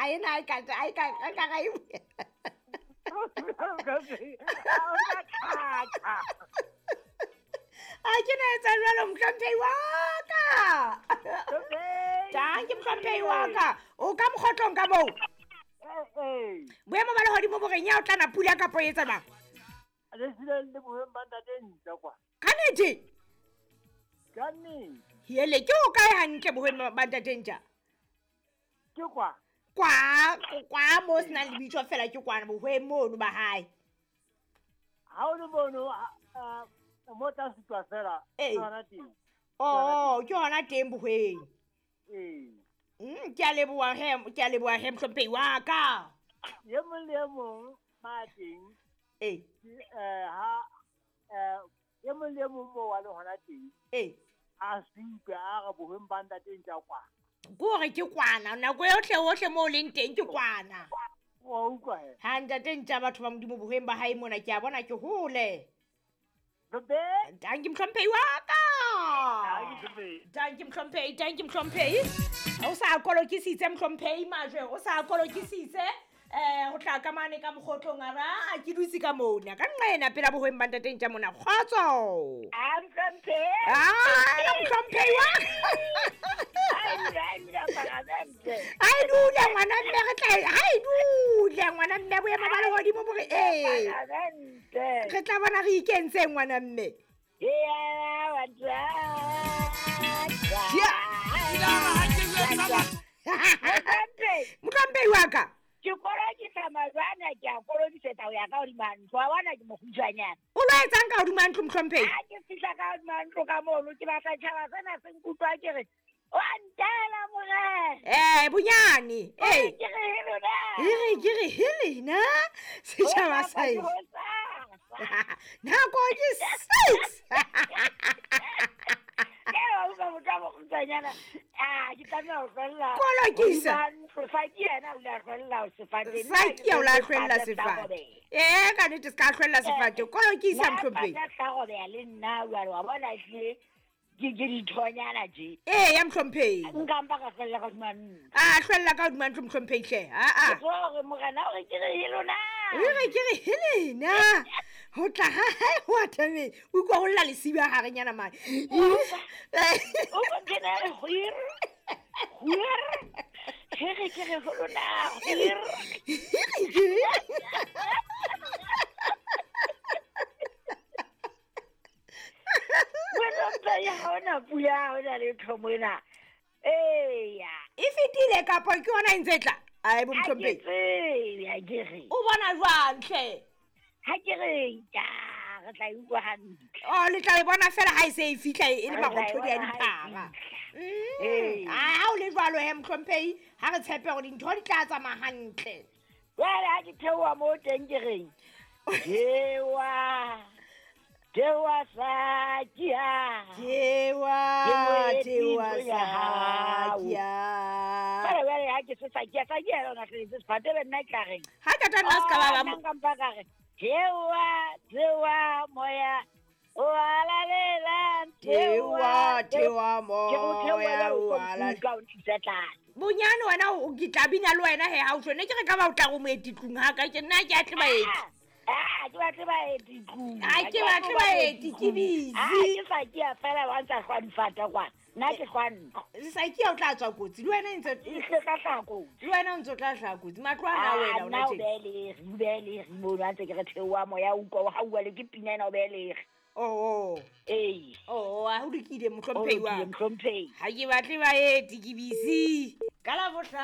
Ena e ka e ka e ka ga e. A ke na etsa jwalo mohlomphehi wa ka. Tang ke mohlomphehi wa ka. O ka mokgotlong ka moo. Boemo ba lehodimo bo reng ya o tlana pula kapo e etsa jwang? Le sile le bohweng ba ntate ntja kwa. Ka nnete? Ka nnete. Hele ke o kae hantle bohweng ba ntate ntja? Ke kwa. Kwa kwa mo se nang lebitso fela ke kwana bohweng mono ba hae. Ha o le mono mo tla sutwa fela Ee. ke hona teng. Oh, ke hona teng bohweng. Ee. Ke a leboha he, ke a leboha he mohlomphehi wa ka. E mong le e mong ma teng. Ee. Ke, ha e mong le e mong moo a le hona teng. Ee. A supe a re bohweng ba ntate ntja kwa. Ke hore ke kwana, nako yohle hohle moo o leng teng ke kwana. Wa utlwa he? Ha ntate ntja batho ba Modimo bohweng ba hae mona ke a bona ke hole. Hlomphehi. Dankie mohlomphehi wa ka. Dankie, hlomphehi. Dankie mohlomphehi, dankie mohlomphehi. O sa kolokisitse mohlomphehi majwe, o sa kolokisitse. Ho tla ka mane ka mokgotlong a ra, a ke dutse ka mona. Ka nqena pela bohweng ba ntate ntja mona. Kgotso. A mohlomphehi. Ah, mohlomphehi wa. Ai, ai, ai, Ai dule ngwana mme re tla, ai dule ngwana mme boemo ba lehodimo bo re, ee. Re tla bona re ikentseng ngwana mme. Mohlomphehi wa ka. Ke kolokisa majwana, ke a kolokisetsa ho ya ka hodima ntlo. Wa bona ke mokgutshwanyane. O lo etsang ka hodima ntlo, mohlomphehi? Ha ke fihla ka hodima ntlo ka mono, ke batla tjhaba sena se nkutlwa ke re, wa ntela morena. Bonyane. Ke re he lona. E re ke re he lena. Setjhaba sa Ho eng? sa. Nako ke 6. Ke wa utlwa motho a mokgutshwanyana. Ah, ke tlameha ho hlwella. Kolokisa. Hodima ntlo. Saki yena o ile a hlwella ho sefate. Saki ya o la hlwella sefate. Ka nnete se ka hlwella sefate. Kolokisa, Nna mohlomphehi. pata tla robeha le nna jwale, wa bona ehlile ke dithonyana tje. Ee, ya mohlomphehi. Nka mpa ka hlwella ka hodima ntlo. A hlwella ka hodima ntlo, mohlomphehi hle. A, a. Ke tseba hore morena o re ke re he lona. O re ke re he lena. Ho tla ha hae ho atameng. O utlwa ho lla lesiba harenyana mane. O kena re hwir. Hwir. He re ke re ho lona. Hwir. Wena mphehi, ha hona pula, ha hona letho mona. Eya. E fetile kapa ke yona e ntse e tla? Ai, bo Ha ke mohlomphehi. tsebe, ha ke re. O bona jwang hle? Ha ke re, ja, re tla e utlwa hantle. Oh, le tla e bona fela ha e se e fihla e le Re tla e marothodi a bona ha e diphara. fihla. Ee. Ah, ha o le jwalo he, mohlomphehi, ha re tshepe hore dintho di tla tsamaya hantle. Jwale ha ke theoha moo teng ke reng? Jewa. Jewa Sakia. Jewa, Ke moeti jewa ntlo ya hao. Sakia. Jwale, jwale ha ke se Sakia, Sakia yona hleletse sefate, be nna ke tla reng? Ha ka tla nna se ka ba ba Oh, nna nka mpa ka re, jewa, jewa moya o halalelang, Jewa, jewa Ke re o moya theohela o o tlo halalelang. nkutlwa o ntlisa tlase. Bonyane wena o ke tla bina le wena he, ha o tjho. Ne ke re ka ba o tla re moeti tlung ha ka ke nna ke a tle baeti. Ah, ke batle baeti tlung. Ha ke batle baeti, ke busy. Ah, ke Sakia fela wa ntsa hlwa difata kwana. Nna ke hlwa ntlo. Sakia o tla tswa kotsi. Le wena ntse E hle tla hlaha kotsi. Le wena o ntse o tla hlaha kotsi. Matlo ana Ah, wena o nna o tjena. behe lere, o behe lere mono ha ntse ke re theoha moya, o utlwa o hauwa le ke pina ena o behe lere. Oh, oh. Ee. Oh, a ho lokile, O mohlomphehi wa lokile, ka. mohlomphehi. Ha ke batle baeti, ke busy. Ka Labohlano.